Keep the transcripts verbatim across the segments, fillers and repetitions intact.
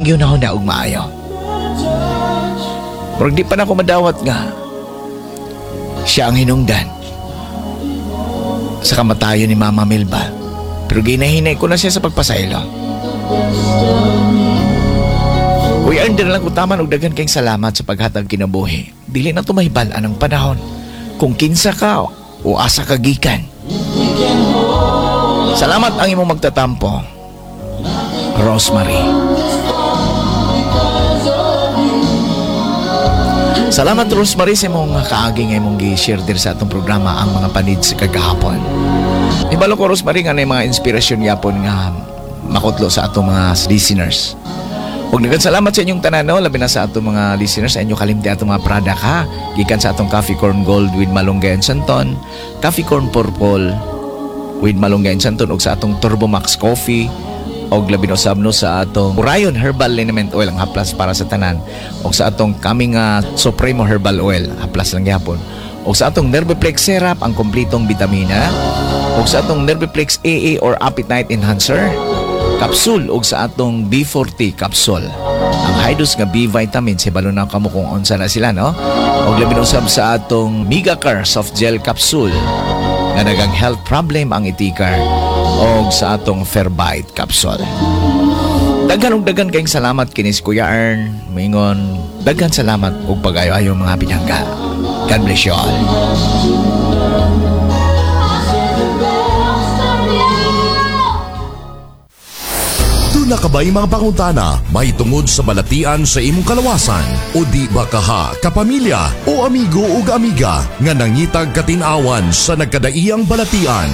gihuna-huna og maayo. Murag di pa na ako madawat nga siya ang hinungdan sa kamatayon ni Mama Melba. Pero ginahinay ko na siya sa pagpasaylo. Uy, Ern, lang ko taman og daghan kayong salamat sa paghatag kinabuhi. Dili na mahibal-an ang panahon. Kung kinsa ka o asa ka gikan. Salamat ang imong magtatampo. Rosemary. Salamat, Rosemary, sa imong kaagi nga imong gi-share diri sa atong programa, ang mga panid sa kagahapon. Ibalo ko, Rosemary, nga na mga inspirasyon yapon nga makutlo sa atong mga listeners. Ug daghan salamat sa inyong tanan, no? Labi na sa atong mga listeners, sa inyo kalimti atong mga product ha. Gikan sa atong Coffee Corn Gold with Malunggay and Santon, Coffee Corn Purple with Malunggay and Santon, ug sa atong Turbo Max Coffee, og labi na usab, no, sa atong Orion Herbal Liniment Oil, ang haplas para sa tanan, og sa atong kaming uh, Supremo Herbal Oil, haplas lang gyapon, og sa atong Nerviplex Syrup, ang kompletong bitamina, og sa atong Nerviplex A A or Appetite Enhancer capsule, ug sa atong B forty capsule, ang high dose nga B vitamins. Hibalo na kamo kung unsa na sila, no? Og labi na usab sa atong Megacar soft gel capsule nga nagang health problem ang itikar, og sa atong Ferbite capsule. Daghan og daghan kayong salamat. Kini si Kuya Ern moingon, daghan salamat ug pag-ayo-ayo, mga pinangga. God bless you all. Duna ka ba'y mga pangutana may tungod sa balatian sa imong kalawasan? O di ba kaha, kapamilya o amigo ug amiga nga nangitag katinawan sa nagkadaiyang balatian?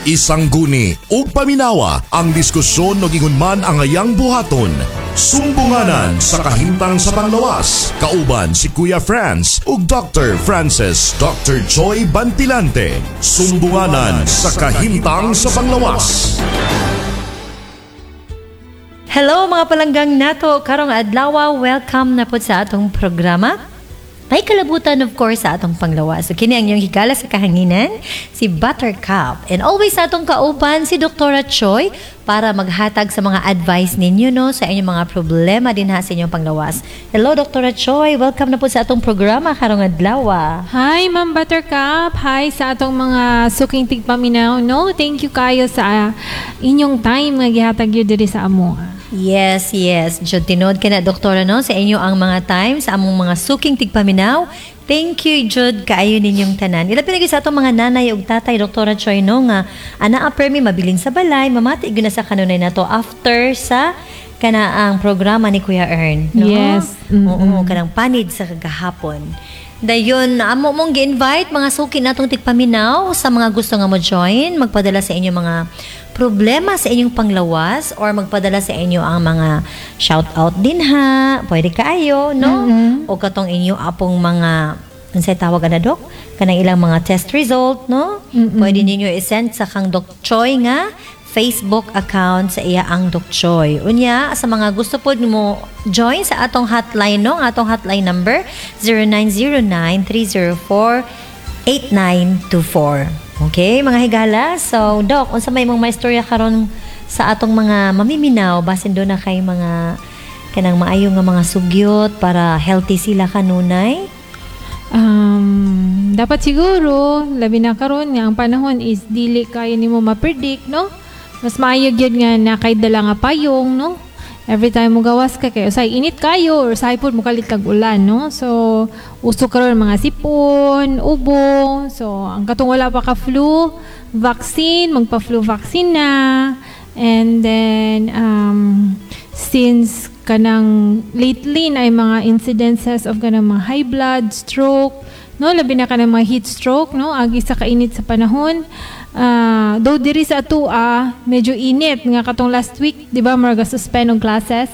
Isang guni ug paminawa ang diskusyon ug ingon man ang ayang buhaton. Sumbunganan sa kahimtang sa panglawas. Kauban si Kuya Franz ug Doctor Francis Doctor Choi Bantilante. Sumbunganan sa kahimtang sa panglawas. Hello, mga palanggang nato karong adlaw, welcome na po sa atong programa. May kalabutan, of course, sa atong panglawas. So kini ang inyong higala sa kahanginan, si Buttercup. And always sa atong kauban si Doktora Choi para maghatag sa mga advice ninyo, no, sa inyong mga problema din ha sa inyong panglawas. Hello, Doktora Choi, welcome na po sa atong programa karong adlaw. Hi, Ma'am Buttercup. Hi sa atong mga suking tigpaminaw, no? Thank you kayo sa inyong time nga gihatag yun diri sa amo. Yes, yes. Jud tinuod ka na, Doktora, no? Sa inyo ang mga time, sa among mga suking tigpaminaw. Thank you, jud kaayo ninyong tanan. Ilabi na gyud sa atong mga nanay ug tatay, Doktora Choi, no, nga anaa permi mabilin sa balay, mamati gyud na sa kanunay nato after sa kana ang programa ni Kuya Ern, no? Yes. Mm-mm. Oo, kanang panid sa kagahapon. Dayon, amo mong gi-invite mga suki natong tigpaminaw sa mga gusto nga mo join, magpadala sa inyo mga problema sa inyong panglawas or magpadala sa inyo ang mga shout out din ha. Pwede kaayo, no? O katong inyo apong mga, unsay tawag ana, Dok? Kanang ilang mga test result, no? Pwede ninyo i-send sa kang Doc Choi nga Facebook account sa iya ang Doc Choi. Unya, sa mga gusto po mo join sa atong hotline, no? Ang atong hotline number zero nine zero nine, three zero four, eight nine two four. Okay, mga higala. So, Doc, unsa may mong maistorya karon sa atong mga mamiminaw, basin duna kay mga kanang maayo nga mga sugyot para healthy sila kanunay? Um, dapat siguro, labi na karon nga ang panahon is dili kayo nimo ma-predict, no? Mas maayo gyud nga na kay dala nga payong, no? Every time mo gawas ka kay usay init kayo or usay pud mo kalit kag ulan, no? So, uso karon mga sipon, ubo. So, ang katong wala pa ka flu vaccine, magpa-flu vaccine na. And then um, since kanang lately na ay mga incidences of kanang mga high blood, stroke, no, labi na kanang mga heat stroke, no, agi sa kainit sa panahon. Ah, though diri sa atua medyo init nga katong last week, di ba, murag suspend og classes.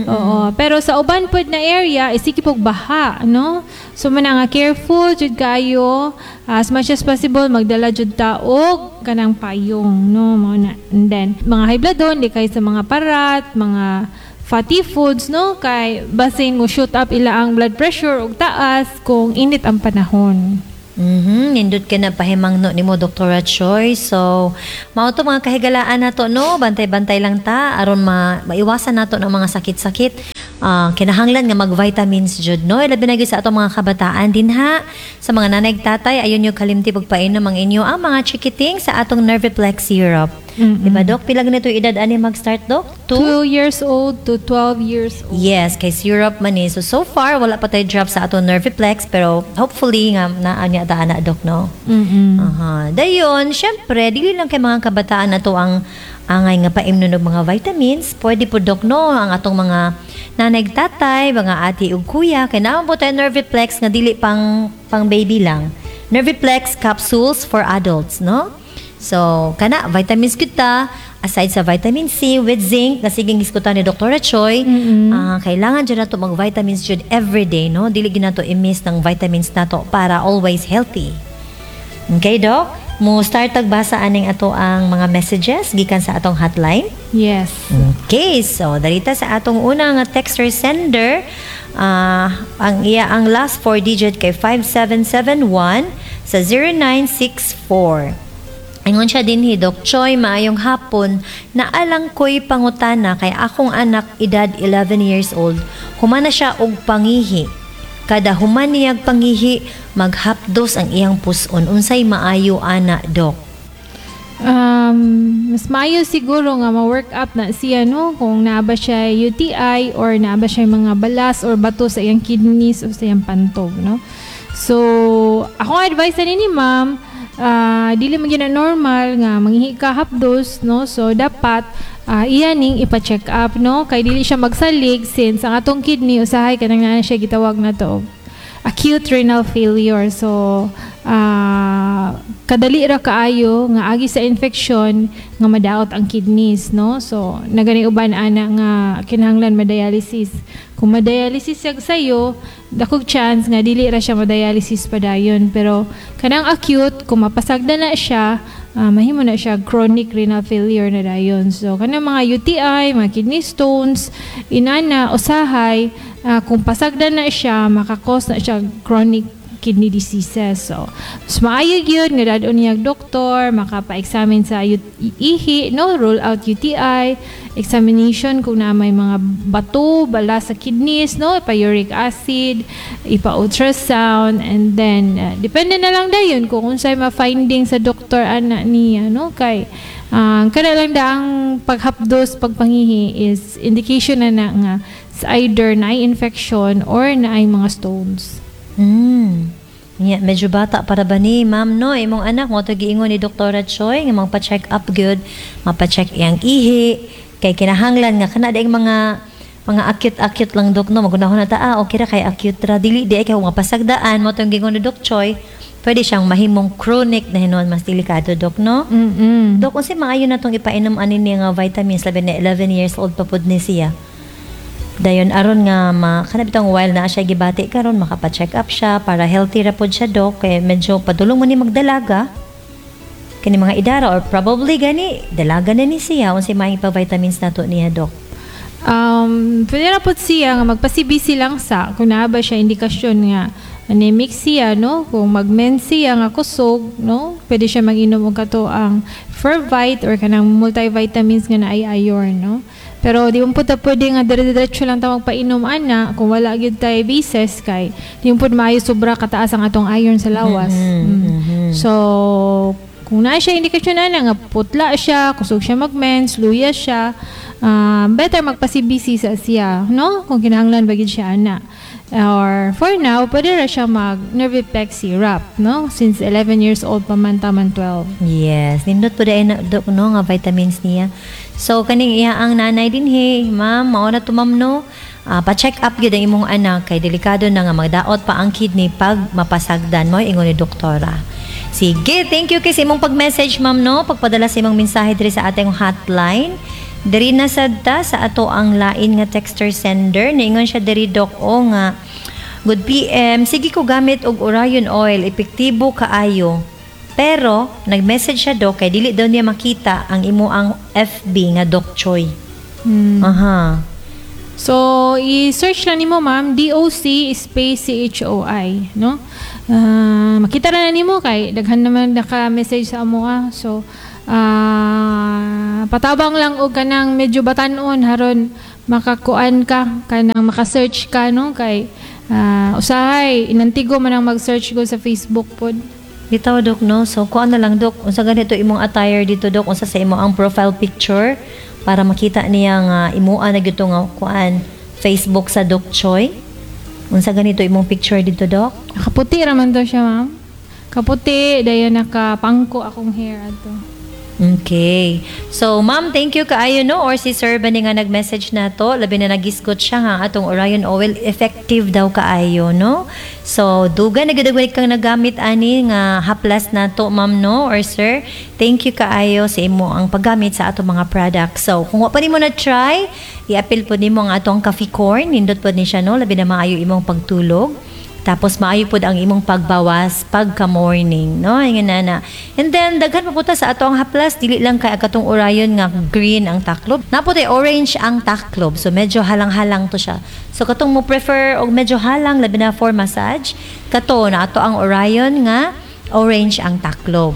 Oo, pero sa uban pod na area is sige pog baha, no? So man nga careful jud kayo, as much as possible magdala jud ta og kanang payong, no, mao na. And then mga high blood don di kay sa mga parat, mga fatty foods, no, kay basin mo shoot up ila ang blood pressure og taas kung init ang panahon. Mhm, nindot ka na pahimangno nimo, Doctor Choi. So, mao to, mga kahigalaan nato, no, bantay-bantay lang ta aron ma maiwasan nato ng mga sakit-sakit. Ah, kinahanglan nga mag-vitamins jud, no? Labi na gyud sa atong mga kabataan din ha. Sa mga nanay ug tatay, ayon nyo kalimti pagpainom ang inyo ang mga chikiting sa atong Nerviplex syrup. Mm-mm. Diba, Dok? Pila ganito edad ani mag-start, Dok? Two? Two years old to twelve years old. Yes, kay syrup man eh. So, so far, wala pa tayo drop sa atong Nerviplex, pero hopefully, nga, naa niya ta ana, Dok, no? Mm-mm. Aha. Dayon, syempre, dili lang kay mga kabataan na to ang angay nga paimnon og mga vitamins. Pwede po, Dok, no, ang atong mga nanay, tatay, mga ate ug kuya, kay naa po tayo Nerviplex nga dili pang pang baby lang. Nerviplex capsules for adults, no? So, kana vitamins kita aside sa vitamin C with zinc na siging giskutan ni Doctor Choi, ah, kailangan jud nato mag vitamins jud every day, no? Dili gyud nato i-miss ng vitamins nato para always healthy. Okay, Doc? Mo start tagbasa aning ato ang mga messages gikan sa atong hotline. Yes. Okay, so darita sa atong unang nga texter sender, ah, ang iya ang last four digit kay five seven seven one sa zero nine six four. Ingon siya dinhi, "Doc Choi, maayong hapon. Naalang ko'y pangutana kay akong anak edad eleven years old. Humana siya og pangihi. Kada human niyag pangihi, maghapdos ang iyang puson. Unsay maayo ana, Doc?" Um, mas maayo siguro nga ma-work up na siya, no, kung naa ba siya U T I or naa ba siya mga balas or bato sa iyang kidneys o sa iyang pantog, no? So, akong advice ani ni ma'am, ah, dili man gyud na normal nga manghihi ka hapdos, no? So, dapat uh, iya ning ipa-check up, no? Kay dili siya magsalig since ang atong kidney usahay kanang naa siya gitawag na to acute renal failure. So, ah, kadali ra kaayo nga agi sa infection nga madaot ang kidneys, no? So, nagani uban ana nga kinahanglan ma-dialysis. Kung ma-dialysis siya sayo, dakog chance nga dili ra siya ma-dialysis padayon. Pero kanang acute, kung mapasagda na siya, ah, mahimo na siya chronic renal failure na dayon. So, kanang mga U T I, mga kidney stones, inana, usahay, ah, kung pasagda na siya, makakos na siya chronic kidney diseases. So, mas maayo gyud nga dad-on niya doktor, makapa-examine sa U- ihi, no, rule out U T I, examination kung na may mga bato, bala sa kidneys, no, ipa-uric acid, ipa-ultrasound, and then uh, depende na lang dayon kung unsay ma-finding sa doktor ana niya, no, kay uh, kada lang daang paghapdos pagpangihi is indication na na nga it's either na infection or na ay mga stones. Hmm. Yeah, medyo bata para ba ni, ma'am, no? Imong anak mo to giingon ni Doctor Choi nga magpa-check up gyud, mapa-check iyang ihi kay kinahanglan nga kana daing mga mga acute-acute lang, Dok, no? Magunahon na ta, ah, okay ra kay acute ra, dili di ay kay mapasagdaan mo tong giingon ni Doc Choi, pwede siyang mahimong chronic na hinuon, mas delikado, Dok, no? Mm-mm. Dok, unsay maayo na tong ipainom ani niya nga vitamins, labi na eleven years old pa pud ni siya? Dayon aron nga ma kana bitong while na siya gibati karon makapa-check up siya para healthy ra pod siya, Dok, kay medyo padulong mo ni magdalaga kani mga idara or probably gani dalaga na ni siya. Unsay maayong pa vitamins nato niya, Dok? Um, pwede na po siya nga magpa-C B C lang sa kung naa ba siya indikasyon nga anemic siya, no? Kung mag-mens siya nga kusog, no? Pwede siya mag-inom og kato ang Fervite or kanang multivitamins nga naay iron, no? Pero di mo po ta pwede nga dire-diretso lang ta magpainom ana kung wala gyud tay basis kay di mo pud maayo sobra kataas ang atong iron sa lawas. Mm. So, kung naa siya indikasyon na nga putla siya, kusog siya mag-mens, luya siya, ah, better magpa-C B C sa siya, no? Kung kinahanglan ba gid siya ana. Or for now, pwede ra siya mag Nerviplex syrup, no? Since eleven years old pa man taman twelve. Yes, nindot po dahil na, Dok, no, nga vitamins niya. So kaning iya ang nanay dinhi, ma'am, mao na to, ma'am, no. Ah, pa-check up gyud ang imong anak kay delikado na nga magdaot pa ang kidney pag mapasagdan mo ingon ni doktora. Sige, thank you kay sa imong pag-message, ma'am, no, pagpadala sa imong mensahe diri sa atong hotline. Diri na sad ta sa ato ang lain nga texter sender. Niingon siya diri, Dok, o nga "Good P M, sige ko gamit og Orion oil, epektibo kaayo." Pero nag-message siya, Dok, kay dili daw niya makita ang imo ang F B nga Doc Choi. Mm. Aha. So, i-search lang nimo, ma'am, D O C space C H O I, no? Ah, makita ra na nimo kay daghan naman naka-message sa amo ah. So, ah, patabang lang og kanang medyo batanon haron Makakuan ka, kanang maka-search ka, no, kay ah, usahay inantigo man ang mag-search ko sa Facebook pod. Bitaw, Dok, no? So kuan na lang, Dok, unsa ganito imong attire dito, Dok, unsa sa imo ang profile picture para makita niya nga imua na gyud to nga kuan Facebook sa Doc Choi. Unsa ganito imong picture dito, Dok? Nakaputi ra man to siya, ma'am. Kaputi, dayon nakapangko akong hair ato. Okay. So, ma'am, thank you kaayo, no? Or si Sir ba ni nga nag-message na to? Labi na nagisgot siya nga atong Orion Oil effective daw kaayo, no? So, duga na gud kang nagamit ani nga haplas na to, ma'am, no? Or sir, thank you kaayo sa imo ang paggamit sa atong mga products. So, kung wa pa nimo na try, i-apil po nimo ang atong coffee corn, nindot po ni siya, no? Labi na maayo imong pagtulog. Tapos maayo pod ang imong pagbawas pagka morning, no? Ingon na na. And then daghan pa po ta sa ato ang haplas, dili lang kay katong Orion nga green ang taklob. Naa pod orange ang taklob. So medyo halang-halang to siya. So katong mo prefer og medyo halang, labi na for massage, kato na ato ang Orion nga orange ang taklob.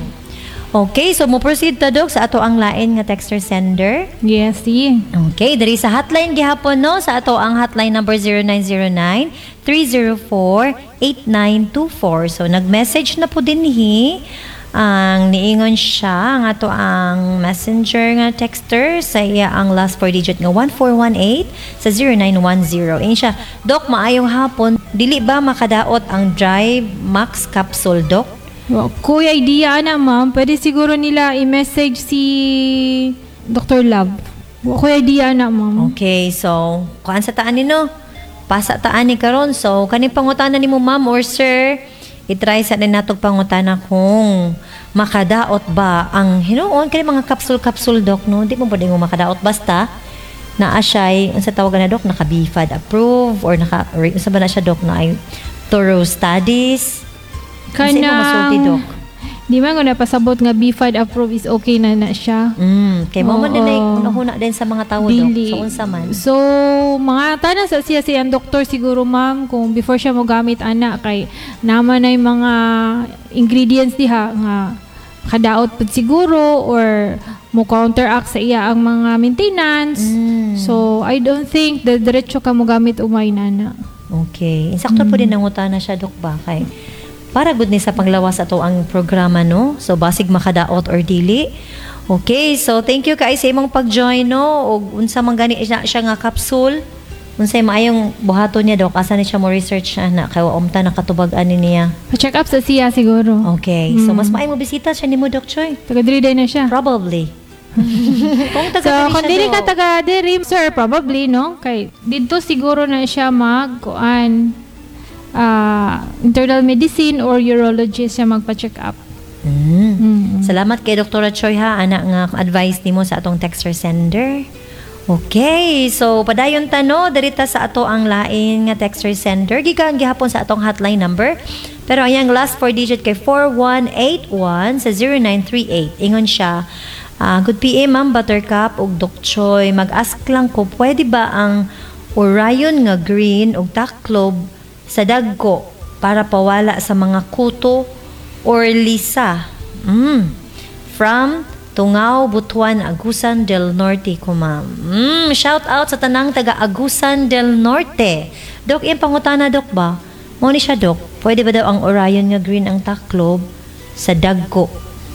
Okay, so mo proceed ta, Dok, sa ato ang lain nga texter sender. Yes, sige. Okay, diri sa hotline gihapon, no, sa ato ang hotline number zero nine zero nine, three zero four, eight nine two four. So nag-message na po dinhi ang niingon siya ang ato ang messenger nga texter sa iya ang last four digit nga one four one eight sa zero nine one zero. Ingon siya, "Dok, maayong hapon. Dili ba makadaot ang Dry Max capsule, Dok?" Wa ko'y idea na, ma'am. Pwede siguro nila i-message si Doctor Love. Wa ko'y idea na, ma'am. Okay, so kuan sa taan ni, no? Pasa taan ni karon. So kani pangutana nimo, ma'am or sir, i-try sa din natog pangutana kung makadaot ba ang hinuon kani mga capsule-capsule, Dok, no? Di mo pwede mo makadaot basta naa siya'y unsa tawag na, Dok, naka B F A D approve or naka or unsa ba na siya, Dok, na ay thorough studies. Unsa imo masulti, Dok? Di man ko napasabot nga B F A D approve is okay na na siya. Mm, kay mo man din ay Oo. huna din sa mga tao, Dok. Dili. So unsa man? So, mga tanan sa siya siyang doktor siguro, ma'am, kung before siya mo gamit ana, kay naman ay mga ingredients diha nga kadaot pud siguro or mo counteract sa iya ang mga maintenance. Mm. So, I don't think that diretso ka mo gamit umay nana. Okay. Insakto po din nangutana siya, Dok, ba? Kay para good ni sa panglawas ato ang programa, no? So, basig makadaot or dili. Okay. So, thank you kay sa imong pag-join, no? Og unsa man gani siya, siya nga capsule. Unsay maayong buhaton niya, Dok? Asa ni siya mo research ana kay wa umta nakatubag ani niya? Pa-check up sa siya siguro. Okay. So, mas maayo mo bisita siya nimo, Dok Choi. Taga diri day na siya. Probably. Kung taga So, diri kung siya, dili ka Dok. taga diri, sir, probably, no? Kay dito siguro na siya mag kuan ah, internal medicine or urologist siya magpa-check up. Mm. Mm. Salamat kay Doctor Choi ha, ana nga advice nimo sa atong texter sender. Okay, so padayon ta, no, diri ta sa ato ang lain nga texter sender gikan gihapon sa atong hotline number. Pero ang last four digit kay four one eight one sa zero nine three eight. Ingon siya, ah, "Good P M, Ma'am Buttercup ug Doc Choi. Mag-ask lang ko, pwede ba ang Orion nga green ug taklob sa dagko para pawala sa mga kuto or lisa?" Mm. From Tungao, Butuan, Agusan del Norte ko, ma'am. Mm, shout out sa tanang taga Agusan del Norte. Dok, iyang pangutana, Dok, ba? Mo ni siya, Dok. Pwede ba daw ang Orion nga green ang taklob sa dagko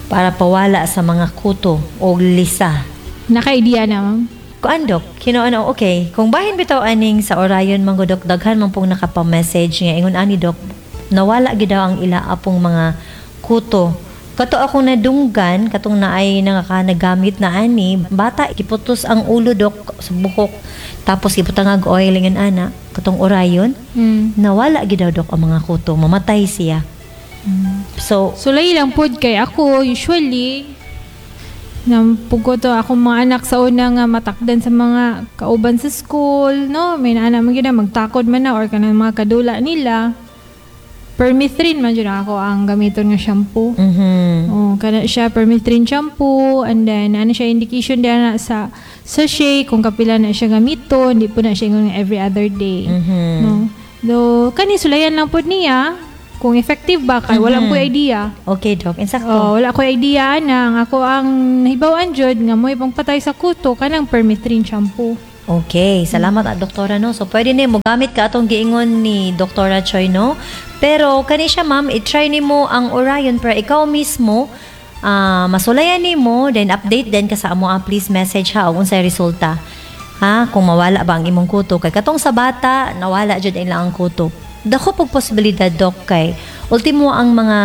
para pawala sa mga kuto o lisa? Naka-idea na, ma'am. Kuan, Dok, kino ano, okay. Kung bahin bitaw aning sa Orion man Dok, daghan man pong nakapa-message nga ingon ani, Dok, nawala gid daw ang ila apong mga kuto. Kato akong nadunggan, katong naay nakakanagamit na ani, bata giputos ang ulo, Dok, sa buhok. Tapos gibutangag oil ingon ana, katong Orion, Mm. nawala gid daw, Dok, ang mga kuto, mamatay siya. So, Sulay lang pod kay ako usually Nampug to akong mga anak sa una nga matakdan sa mga kauban sa school, no? May naana man gyud na magtakod man na or kanang mga kadula nila. Permethrin man jud ako ang gamiton nga shampoo. mhm. Oh, kana siya permethrin shampoo and then ano siya, indication din na sa sachet kung kapila na siya gamiton, di po na siya ingon nga every other day. Mhm. No. Though kani sulayan lang pod niya kung effective ba kay wala ko idea. Okay, Dok. Insakto. Oh, wala ko idea na ang ako ang nahibaw-an jud nga mo'y pangpatay sa kuto kanang permethrin shampoo. Okay, salamat ah, Doktora, no. So pwede ni mo gamit ka atong giingon ni Doktora Choi, no. Pero kani siya, ma'am, i-try nimo ang Orion pero ikaw mismo ah masulayan nimo, then update din ka sa amo ah, please message ha og unsay resulta. Ha, kung mawala ba ang imong kuto kay katong sa bata nawala jud ilang ang kuto. Dako pog posibilidad, Dok, kay ultimo ang mga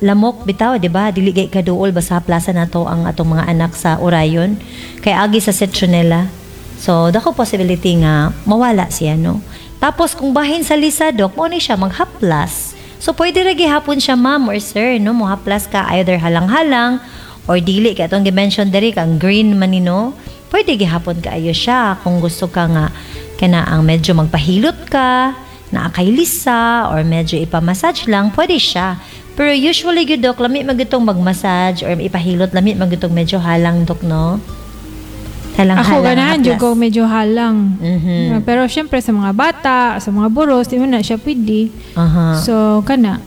lamok bitaw, di ba? Dili gay kaduol basta plaza nato ang atong mga anak sa Orion kay agi sa citronella. So, dako possibility nga mawala siya, no? Tapos, kung bahin sa lisa, Dok, mo ni siya maghaplas. So, pwede ra gihapon siya, ma'am or sir, no? Mohaplas ka either halang-halang or dili. Kaya itong gi-mention diri, kang green man ni, no? Pwede gihapon kaayo siya kung gusto ka nga kana ang medyo magpahilot ka, naa kay lisa, or medyo ipamassage lang, pwede siya. Pero usually, gyud, Dok, lami man gitong magmassage or ipahilot, lami man gitong medyo halang, Dok, no? Halang-halang. Ako ganahan jud haplas. ko medyo halang. Mhm. Pero syempre sa mga bata, sa mga buros, di mo na siya pwede. Aha. So kana.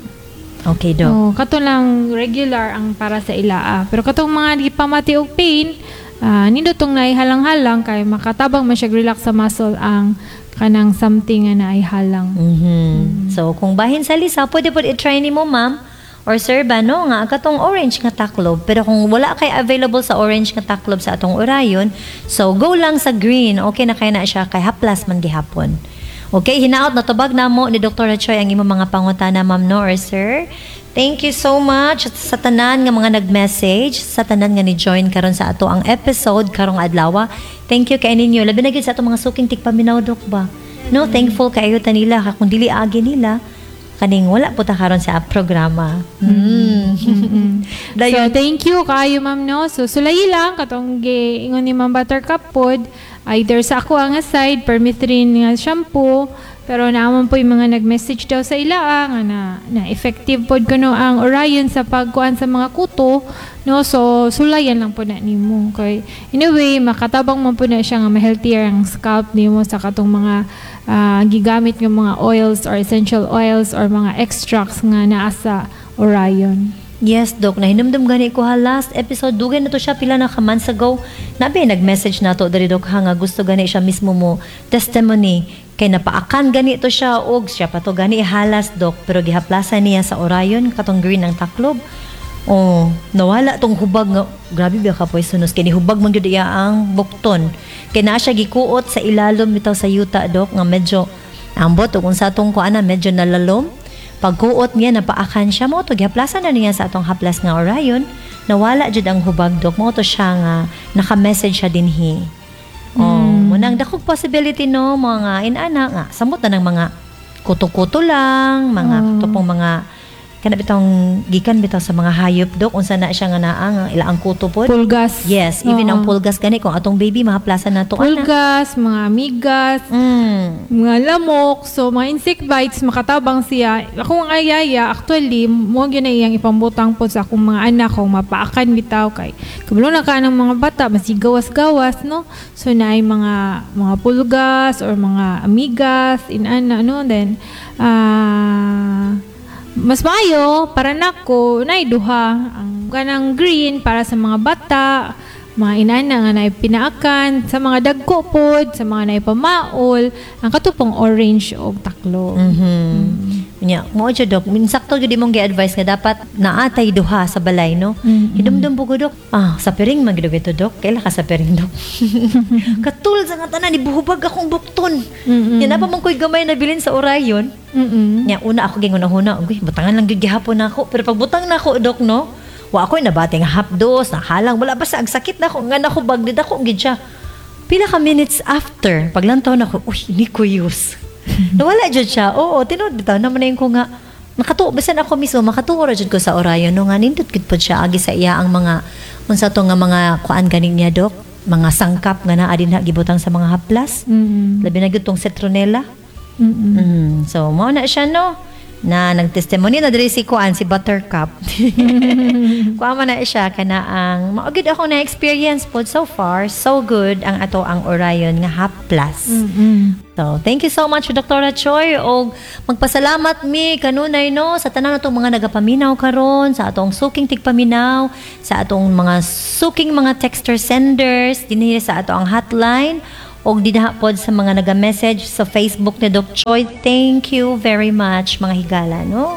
Okay, Dok. Oh, kato lang regular ang para sa ilaa. Pero katong mga di pamati og pain, ah, nindot tong naihalang-halang kay makatabang man siya relax sa muscle ang kanang something nga naihalang. Mhm. So, kung bahin sa lisa, pwede po i-try nimo, ma'am or sir ba, no, nga katong orange nga taklob. Pero kung wala kay available sa orange nga taklob sa atong Orion, so go lang sa green. Okay na kay na siya kay haplas man gihapon. Okay, hinaot natubag namo ni Doctor Choi ang imong mga pangutana, ma'am, no, or sir. Thank you so much sa tanan nga mga nag-message, sa tanan nga ni join karon sa ato ang episode karong adlaw. Thank you kay ninyo. Labi na gyud sa atong mga suking tigpaminaw, Dok, ba. No, thankful kaayo ta nila kung dili agi nila kaning wala po ta karon sa programa. Mm. So Dayon. thank you kaayo, ma'am, no. So sulayi lang katong giingon ni Ma'am Buttercup pod, either sa ako ang side permethrin nga shampoo, pero naman po yung mga nag-message daw sa ilaa nga na, na effective pod kuno ang Orion sa pagkuan sa mga kuto, no. So sulayan lang po na nimo kay anyway makatabang man po na siya nga ma-healthier ang scalp nimo sa katong mga ah, gigamit nga mga oils or essential oils or mga extracts nga naa sa Orion. Yes, Dok. Nahinumdum gani ko ha last episode. Dugay na to siya pila na ka months ago. Nabi nag-message na to diri, Dok, ha, nga gusto gani siya mismo mo testimony kay napaakan gani to siya og siya pa to gani halas, Dok, pero gihaplasan niya sa Orion katong green ang taklob. Oh, nawala tong hubag nga grabe ba ka poisonous kay hubag man gyud iya ang bukton. Kay naa siya gikuot sa ilalom bitaw sa yuta, Dok, nga medyo ambot ug unsa tong kuana medyo nalalom. Pagkuot niya napaakan siya mo to gihaplasan na niya sa atong haplas nga Orion. Nawala jud ang hubag, Dok. Mo to siya nga naka-message siya dinhi. Oh, mm. Munang dakog possibility, no, mga inana nga samot na ng mga kuto-kuto lang, mga Oh. tupong mga kana bitong gikan bitaw sa mga hayop, Dok, unsa na siya nga naa nga ila ang kuto pod. Pulgas. Yes, even Oo. ang pulgas gani kung atong baby mahaplasan na to ana. Pulgas, mga amigas, Mm. mga lamok, so mga insect bites, makatabang siya. Ako ang ayaya, actually, mo gyud na iyang ipambutang po sa akong mga anak kung mapaakan bitaw kay kabalo na ka ng mga bata, masigawas-gawas, no? So naay mga mga pulgas or mga amigas, inana, no? Then, ah mas maayo para nako nay duha ang kanang green para sa mga bata, mga inana nga naay pinaakan, sa mga dagko pod, sa mga naay pamaol, ang katupong orange og taklo. Mhm. Nya, mo jud, Dok, min sakto jud imong gi-advise nga dapat naatay duha sa balay, no? Mm-mm. Hinumdum po ko, Dok. Ah, sa piring man gid ito, Dok. Kaila ka sa piring, Dok. Katul sa nga tanan ibuhubag akong bukton. Mm-mm. Nya napa man ko'y gamay na bilin sa Orion. Mm-mm. Nya una ako gingunahuna, uy, butangan lang gyud gihapon nako. Pero pag butang nako, Dok, no? Wa ako'y nabati nga hapdos, nakalang, wala basta ang sakit na ako, nga nako bagdid ako gid siya. Pila ka minutes after, paglantaw nako, uy, ni kuyos. Nawala jud siya. Oo, tinuod bitaw naman na yung ko nga makatuo bisan ako mismo makatuo ra jud ko sa Orion, no, nga nindot gid pod siya agi sa iya ang mga unsa to nga mga kuan ganing niya, Dok, mga sangkap nga naa dinha gibutang sa mga haplas. Mm-mm. Labi na gyud tong citronella. Mm-mm. Mm. So, mao na siya, no? Na nagtestimony na diri si kuan si Buttercup. Kuan man na siya kana ang mao gyud ako na experience pod. So far so good ang ato ang Orion nga haplas. Mm-mm. So, thank you so much, Doctor Choi. Og magpasalamat mi kanunay, no, sa tanan natong mga nagapaminaw karon, sa atong suking tigpaminaw, sa atong mga suking mga texter senders dinhi sa ato ang hotline Og dinha pod sa mga naga-message sa Facebook ni Doc Choi. Thank you very much, mga higala, no?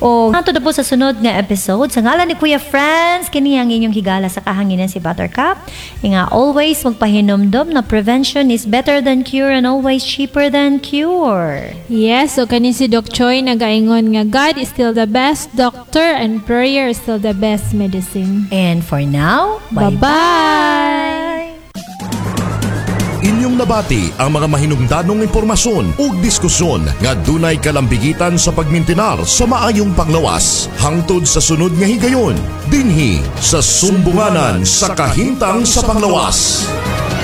O hantod na po sa sunod nga episode. Sa ngalan ni Kuya Franz, kini ang inyong higala sa kahanginan, si Buttercup. Nga always magpahinumdom na prevention is better than cure and always cheaper than cure. Yes, so kani si Doc Choi nagaingon nga God is still the best doctor and prayer is still the best medicine. And for now, Bye-bye! Bye-bye! Inyong nabati ang mga mahinungdanong impormasyon ug diskusyon nga dunay kalambigitan sa pagmintinar sa maayong panglawas. Hangtod sa sunod nga higayon, dinhi sa Sumbunganan sa Kahimtang sa Panglawas.